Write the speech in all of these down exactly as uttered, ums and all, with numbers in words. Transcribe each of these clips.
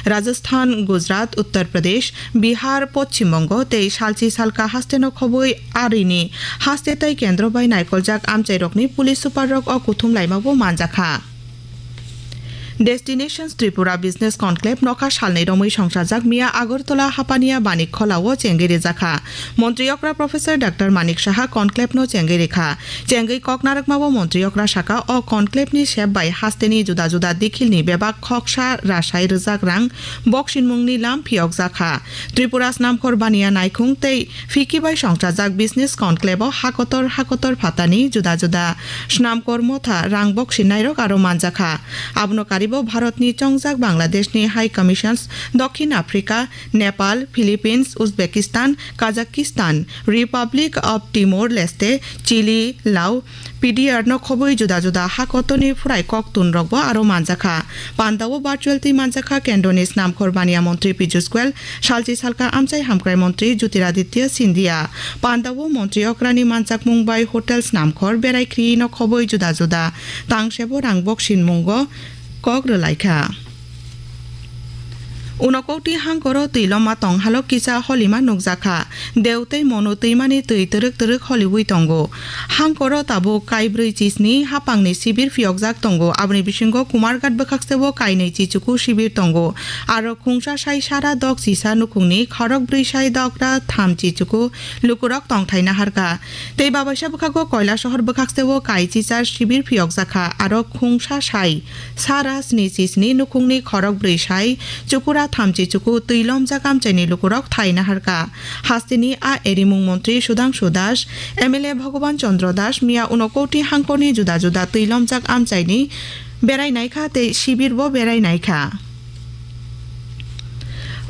Rajasthan, Gujarat, Uttar Pradesh, Bihar, Poschim Bongo tei salchi salka hasteno khobwi arini haste tei kendro bai naikoljak amchairokni police superrok o kuthum laimabo manjakha. Destinations Tripura Business Conclave nokha salnwi romwi songchajak miya Agartala Hapania Banik Khola o chengwi rijakha. Montri okra Professor Doctor Manik Saha conclave no chengwi rikha. Chengwi kok narwkmabo montri okra saka o conclave ni sep bai hasteni juda juda dikhil ni bebak khoksa rasai rwjak rang boksinmung ni lam phiyokjakha. Tripura snamkhor baniya naikhung tei phiki bai songchajak business conclave o hakotor hakotor phatani juda juda snamkhor motha rang boksinnairok aro manjakha. Abono karibo Bharatni chongjak Bangladeshni High Commissions, Dokhin Africa, Nepal, Philippines, Uzbekistan, Kazakhstan, Republic of Timor-Leste, Chile, Lao, P D R no khobwi juda juda hakotorni phurai koktun rokbo aro manjakha. Pandao virtual twi manjakha kendroni snamkhor baniya montri Piyush Goyal, salchi salka amchai hamkrai montri Jyotiraditya Scindia. Pandao montri okrani manjakmung bai hotel snamkhor berai khri no khobwi juda juda tangsebo rang boksinmungo kok rwlaikha. Unokoti hangkoro twiloma tong halok kisa holima nukjakha. Deu tei Monu twimani twi twrwk twrwk holiwi tongo. Hangkoro tabuk kaibrwi chisni hapangni sibir phiyokjak tongo. Aboni bisingo Kumarghat bwkhaksebo kainwi chichuku sibir tongo. Aro khungsa sai sara dok chisa nukhungni khorok brwi sai dokra tham chichuku lukurok tongthai naharkha. Tei babaisa bwkhago Koilasohor bwkhaksebo kai chichar sibir phiyokjakha. Aro khungsa sai sara sni chisni nukhungni khorok brwi sai chukura thamchi chuku twi lomjak amchaini lukurok thai naharkha. Hasteni a erimung montri Sudhangshu Das, M L A Bhagaban Chandra Das miya Unokoti hangkorni juda juda twi lomjak amchaini berai naikha tei sibirbo berai naikha.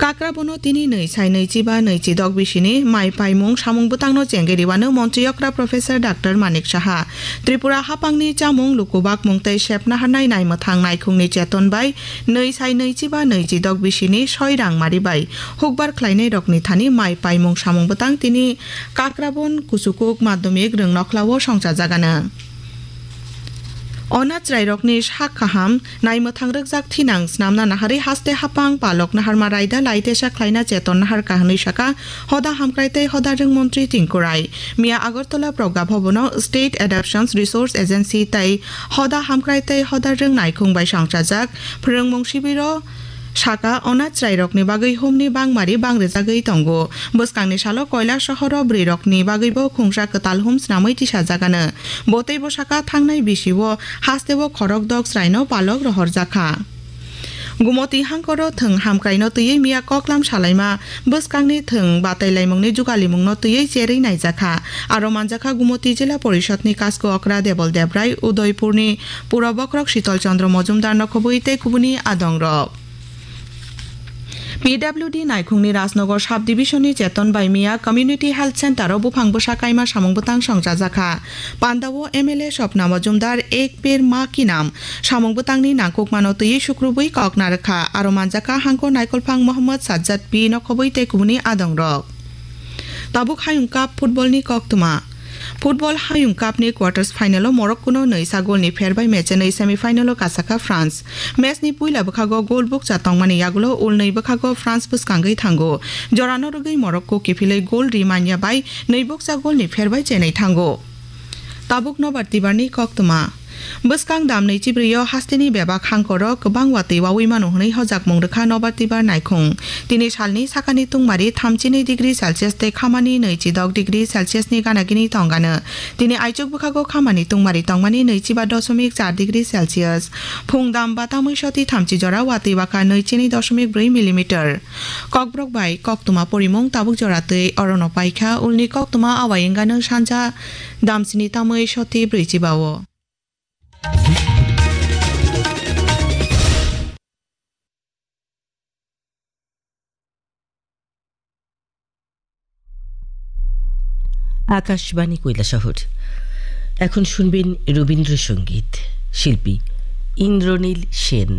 Kakrabono tini nwi sai nwichiba nwichidok bisini mai paimung samung bwtangno chengwi rwano montri okra Professor Doctor Manik Saha. Tripura hapangni chamung, lukubakmung tei sepna harnai naimwthang naikhungni cheton bai nwi sai nwichiba nwichidok bisini soi rangmari bai hukbar khlainairokni thani mai paimung samung bwtang tini Kakrabon Kuchukuk Madhyamik Rwngnokhlao songchajagano. Onath chwrairokni sak kaham naimwthang rwkjak thinang snamna naharwi haste hapang palok naharma raida laitesa khlaina cheton naharkha hwnwi saka hoda hamkrai tei hoda rwng montri Tinku Rai. Miya Agartala Progga Bhabono State Adoptions Resource Agency tei hoda hamkrai tei hoda rwng naikhung bai songchajak phwrwngmung sibiro saka onath chwrairokni bagwi humni bangmari bangrijagwi tongo. Bwskangni salo Koilasohoro bwrwirokni bagwibo khungsa kwtal hum snamwi tisajagano. Bo teibo saka thangnai bisio hasteo khorok dok chwraino palok rohorjakha. Gumoti hangkoro thwng hamkraino twiwi miya koklam salaima bwskangni thwng batailaimungni jugalimungno twiwi cherwi naijakha. Aro manjakha Gumoti Jila Porishodni Kasko Okra Debol Debrai, Udaipurni Puro Bokrok Shitol Chandra Mojumdar nokhobwi tei kubuni adongrok. P W D Naikhungni Rajnagar Sub-Division-ni cheton bai miya Community Health Center-o buphang bwsa kaima samung bwtang songchajakha. Pandao M L A Swapna Mojumdar Ek Ped Maa Ki Naam samung bwtangni nangkukmano twiwi sukrubwi kok narwkha. Aro manjakha hangko naikolphang Mohammad Sajjad P nokhobwi tei kubuni adongrok. Tabuk Hayung Cup football-ni koktwma. Football Hayung Cup-ni quarters final-o Morocco-no nwisa goal-ni pher bai match-nwi semi-final-o kasakha France. Match-ni puila bwkhago goal bukcha tongmani yagulo ulnwi bwkhago France bwskangwi thango. Jorano rwgwi Morocco kiphilwi goal ri manya bai nwi bukcha goal-ni pher bai chenwi thango. Tabuk Nobar Tibar-ni koktwma. Bwskang dam nwi chibrwi-o hasteni bebak hangkoro kwbang watwi wawi mano hwnwi hojakmung rwkha Nobar Tibar Naikhung. Tini salni sakani tungmari thamchinwi degree Celsius tei khamani nwichidok degree Celsius-ni ganagini tongano. Tini aichuk bwkhago khamani tungmari tongmani nwichiba dosomik char degree Celsius. Phung dam batamwi soti thamchi jora watwi wakha nwichini dosomik brwi millimeter. Kokborok bai koktwma porimung tabuk jora twi orono paikha, ulni koktwma awai wngano sanja damsini tamwi soti brwichiba-o. Akashvani কৈলাসহর। এখন শুনবেন রবীন্দ্রসঙ্গীত। শিল্পী ইন্দ্রনীল সেন।